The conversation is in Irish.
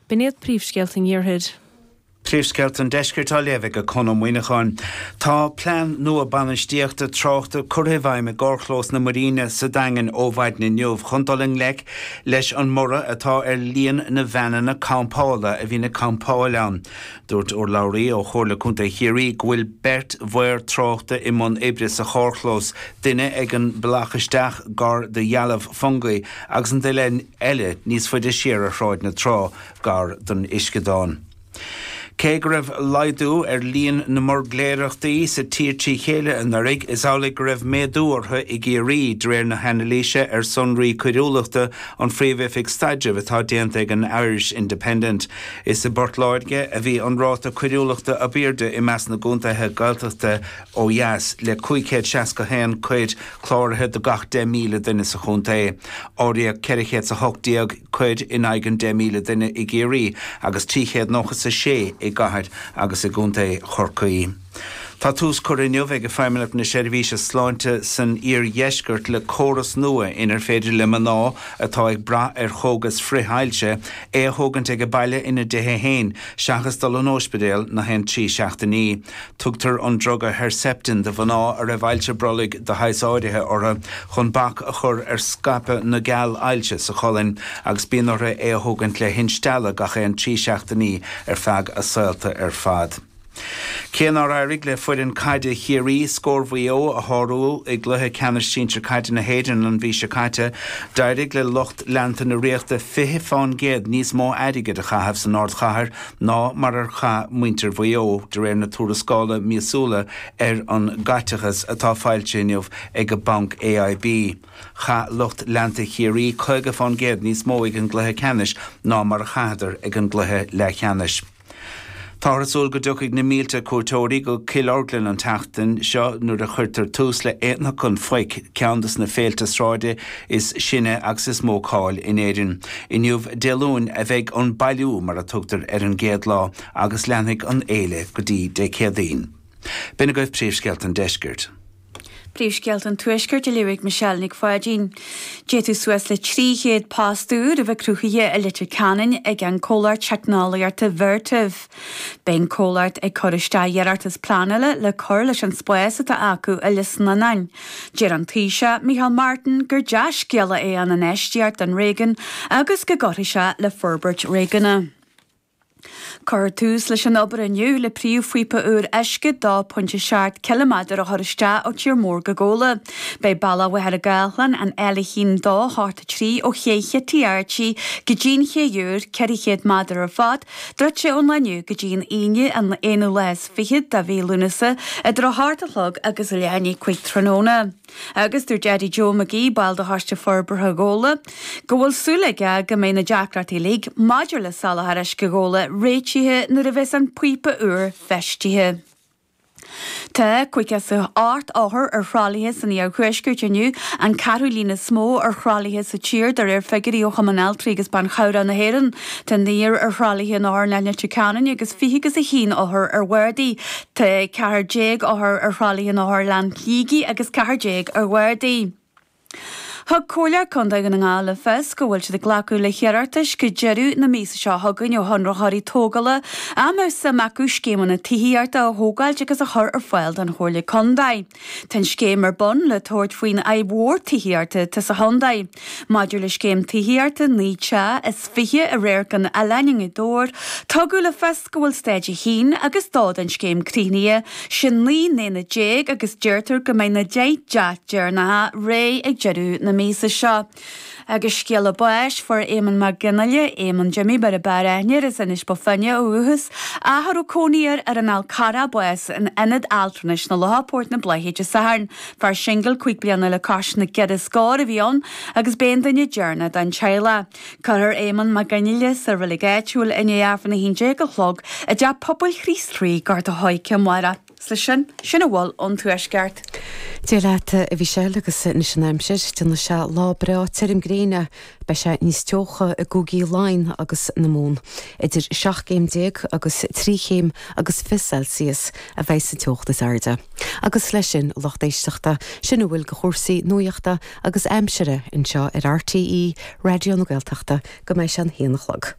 B'in iad príomhscéalta an Iarthair. Príomhscéalta an Deiscirt á léamh ag Conn Ó Muíneacháin. Tá plean nua bainistíochta tráchta curtha i bhfeidhm i gcarrchlós na Muiríne sa Daingean ó mhaidin inniu chun dul i ngleic leis an mborradh atá ar líon na veaineanna campála a bhíonn ag campáil ann. Dúirt urlabhraí ó Chomhairle Contae Chiarraí go bhfuil beirt mhaor tráchta i mbun oibre sa charrchlós, duine ag an bealach isteach gar do dhealbh Fungie agus an duine eile níos faide siar ar Shráid na Trá gar don uisceadán. Cé go raibh laghdú ar líon na mbuirgléireachtaí sa tír trí chéile anuraidh, is amhlaidh go raibh méadú orthu i gCiarraí, de réir na hanailíse ar sonraí coiriúlachta an Phríomh-Oifig Staidrimh atá déanta ag an Irish Independent. Is i bPort Láirge a bhí an ráta coiriúlachta ab airde i measc na gcontaetha Gaeltachta ó dheas, le 561 coir cláraithe do gach 10,000 duine sa chontae. Áiríodh 418 coir in aghaidh an 10,000 duine i gCiarraí agus 396 i gcathair agus i gcontae Chorcaí. Tá tús curtha inniu ag Feidhmeannacht na Seirbhíse Sláinte san iardheisceart le córas nua inar féidir le mná atá ag brath ar chógas frith-ailse é a thógaint ag baile ina dtithe féin seachas dul an óispidéal na haon 3 seachtainí. Tugtar an druga Herceptin do mhná a raibh ailse brollaigh de shaghas áirithe orthu chun bac a chur ar scaipeadh na gceall ailse sa cholainn agus bíonn orthu é a thógaint le hinstealladh gach aon 3 seachtainí ar feadh a saolta ar fad. Cé nár éirigh le foireann caide Chiarraí scór Mhaigh Eo a shárú i gcluiche ceannais sinsir caide na hÉireann an mhí seo caite, d'éirigh le lucht leanta na Ríochta 20 fán gcéad níos mó airgid a chaitheamh san ardchathair ná mar a chaith muintir Mhaigh Eo, de réir na tuarascála míosúla ar an gcaiteachas atá foilsithe inniu ag an banc AIB. Chaith lucht leanta Chiarraí 50 fán gcéad níos mó ag an gcluiche ceannais ná mar a chaitheadar ag an gcluiche leathcheannais. Táthar ag súil go dtiocfaidh na mílte cuairteoirí go Cill Orglan an tseachtain seo nuair a chuirtear tús le Aonach an Phoic, ceann de na féilte sráide is sine agus is mó cáil in Éirinn. Inniu, Dé Luain, a bheidh an bailiú, mar a tugtar ar an gcéad lá, agus leanfaidh an fhéile go dtí Dé Céadaoin. B'in agaibh príomhscéalta an deiscirt. Príomhscéalta an Tuaiscirt á léamh ag Michelle Nic Pháidín. D'fhéadfadh suas le 300 post úr a bheith cruthaithe i Leitir Ceanainn ag an comhlacht teicneolaíochta Vertiv. Beidh an comhlacht ag cur isteach iarratas pleanála le cur leis an spás atá acu i Lios Nunáin. Deir an Taoiseach, Micheál Martin, gur dea-scéala é an infheistíocht don réigiún agus go gcuirfidh sé le forbairt réigiúnach. Cuirfear tús leis an obair inniu le príomhphíopa úr uisce 2.7 ciliméadar a chur isteach ó Tír Mór go Gabhla. Beidh bealach Mhachaire Gathlán, an L1 2 8 3 ó Ché Chití Archie go dtí'n ché úr, 400 méadar ar fad, druidte ón lá inniu go dtí an Aoine an aonú lá is fichead de mhí Lúnasa idir 8 a chlog agus leath i ndiaidh 5 tráthnóna. Agus dúirt Eddie Joe McGee, ball de Choiste Forbartha Ghabhla, go bhfuil súil aige go mbeidh na deacrachtaí uilig maidir le soláthar uisce Ghabhla réitithe nuair a bheas an píopa úr feistithe. Tá 58 othar ar thralaithe san iarthuaisceart inniu, an ceathrú líon is mó ar thralaithe sa tír de réir figiúirí ó Chumann Altraí agus Ban Chabhrach na hÉireann. Tá naonúr ar thralaithe in Otharlann Leitir Ceanainn agus 21 othar ar bhardaí. Tá 14 othar ar thralaithe in Otharlann Shligigh agus 14 ar bhardaí. Thug Comhairle Contae Dhún na nGall le fios go bhfuil siad ag glacadh le hiarratais go deireadh na míosa seo chugainn ó chonraitheoirí tógála a mbeadh suim acu scéimeanna tithíochta a thógáilt agus a chur ar fáil don Chomhairle Contae. Tá an scéim ar bun le tabhairt faoin fhadhb mhór tithíochta atá sa chontae. Maidir le scéim tithíochta 9 teach is 20 i Radharc an Oileáin i nGaoth Dobhair, tugadh le fios go bhfuil staid 1 agus 2 den scéim críochnaithe, sin 19 n-aonad agus deirtear go mbeidh na 10 dteach deireanacha réidh ag deireadh na míosa seo. Agus scéala báis, fuair Éamonn Mac Fhionnghaile, Éamonn Jimmy mar a b'fhearr aithne air, as Inis Bó Finne ó dhúchas, ach a raibh cónaí air ar an Fhál Carrach, bás in Ionad Altranais na Locha, Port na Bláiche Dé Sathairn. Fear singil 5 bliana le cois na gceithre scór a bhí ann agus b'é an duine deireanach den teaghlach. Cuirfear Éamonn Mac Fhionnghaile sa reilig áitiúil i ndiaidh Aifreann 11 a chlog i dTeach Pobail Chríost Rí, Gort a' Choirce amárach. Is leis sin, sin a bhfuil ón Tuaisceart. Dia leat, a Mhichelle, agus anois an aimsir. Déanfaidh sé lá breá tirim gréine. Beidh sé níos teocha i gcúigí Laighean agus na Mumhan. Idir 17 gcéim agus 3 chéim agus 20 Celsius a bheidh sa teocht is airde. Agus leis sin, a lucht éisteachta, sin a bhfuil de chúrsaí nuachta agus aimsire anseo ar RTÉ Raidió na Gaeltachta go mbeidh sé an haon a chlog.